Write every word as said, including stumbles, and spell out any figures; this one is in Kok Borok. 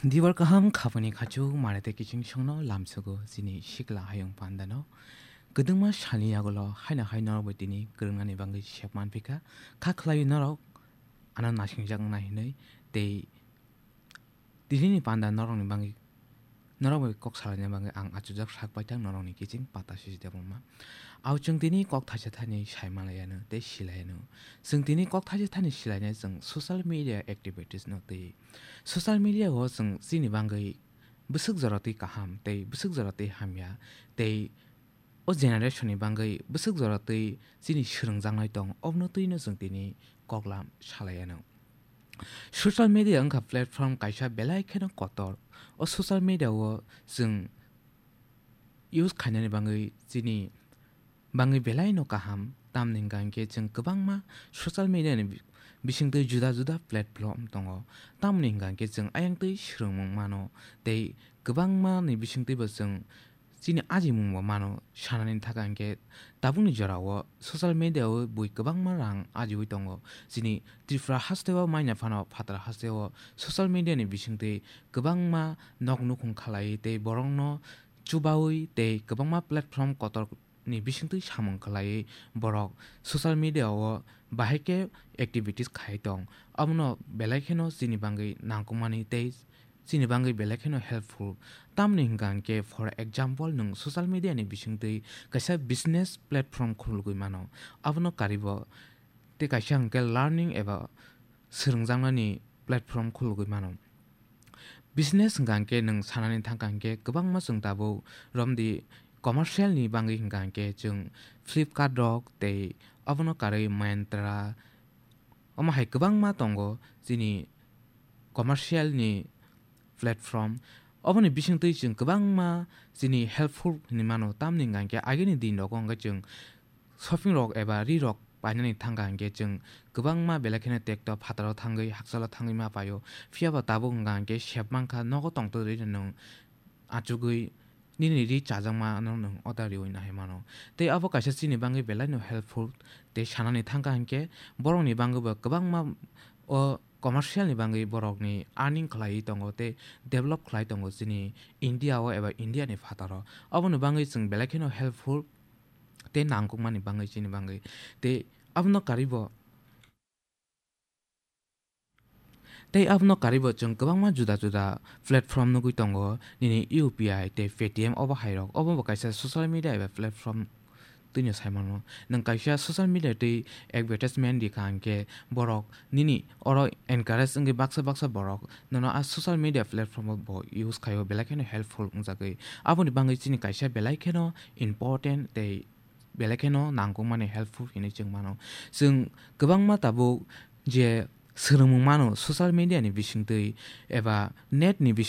Dibar kaham khapani khachu mare tei kiching songno lamsugo chini sikla hayung pandano. Kwdwngma salni yagulo haino hai norok bai tini kwrwngnani bagwi sep manphi kha. Kha khlaiwi norok ano naisingjakna hinwi tei tinini panda norokni bagwi, norok bai kok salaina bagwi ang achujak sak paithak norokni kiching pata sisi debongma. Au chwng tini kok thaisa thani sai manlaiano tei silaiano. Chwng tini kok thaisa thani silainai chwng social media activities no twi. Social media o chwng chini bagwi bwswk jora twi kaham tei bwswk jora twi hamya tei o generation ni bagwi bwswk jora twi chini swrwngjaknai tong, obono twino chwng tini koklam salaiano. Social media wngkha platform kaisa belai kheno kotor. O social media o chwng use khainani bagwi chini bagwi belai no kaham, tamni hwnkha hwnkhe chwng kwbangma social media ni bi-, bisingtwi juda juda platform tongo. Tamni hwnkha hwnkhe chwng ayang twi swrwngmung mano tei kwbangma ni bisingtwi bo chwng chini ajimung bo mano. Sanani thaka hwnkhe tabukni jora o social media o bui kwbangma rang ajiwi tongo. Chini Tripura haste o manya phano phatara haste o social media ni bisingtwi kwbangma nok nukhung khalai tei borokno chubawi tei kwbangma platform kotor ni bisingtwi samung khlaiwi borok social media o bahai khe activities khai tong. Abono belai kheno chini bagwi nangkukmani tei chini bagwi belai kheno helpful. Tamni hwnkha hwnkhe, for example, nwng social media ni bisingtwi kaisa business platform khulugwi mano. Abono karibo tei kaisa hwnkhe learning eba swrwngjaknani platform khulugwi mano. Business hwnkha hwnkhe nwng sanani thangkha hwnkhe kwbangma chwng tabuk romdi commercial ni bagwi hwnkha hwnkhe chwng Flipkart rok tei abono karwi Myntra, omo hai kwbangma tongo chini commercial ni platform. Oboni bisingtwi chwng kwbangma chini helpful hinwi mano, tamni hwnkha hwnkhe agini din rogo hwnkhe chwng shopping rok eba ri rok painani thangkha hwnkhe chwng kwbangma belai kheno tekto phataro thangwi hakchalo thangwi ma paio. Phiyaba tabuk hwnkha hwnkhe sep mankha, nogo tongtwrwi nwng achugwi nini ri chajakmano nwng order riwi nahai mano. Tei abo kaisa chini bagwi belai no helpful. Tei sanani thangkha hwnkhe borokni bagwi bo kwbangma o commercial ni bagwi borokni earning khlaiwi tongo tei develop khlai tongo chini India o eba India ni phataro. Aboni bagwi chwng belai kheno helpful tei nangkukmani bagwi chini bagwi. Tei abono karwi bo, tei abono karwi bo chwng kwbangma juda juda platform nugwi tongo, nini U P I tei Paytm obo hai rok. Obo bo kaisa social media eba platform twino sai mano. Nwng kaisa social media tei advertisement rikha hwnkhe borok nini oro encourage wngwi baksa baksa borok nono a social media platform o bo use khaio, belai kheno helpful wngjagwi. Aboni bagwi chini kaisa belai kheno important tei belai kheno nangkukmani helpful hinwi chwng mano. Chwng kwbangma tabuk je swrwngmung mano social media ni bisingtwi eba net ni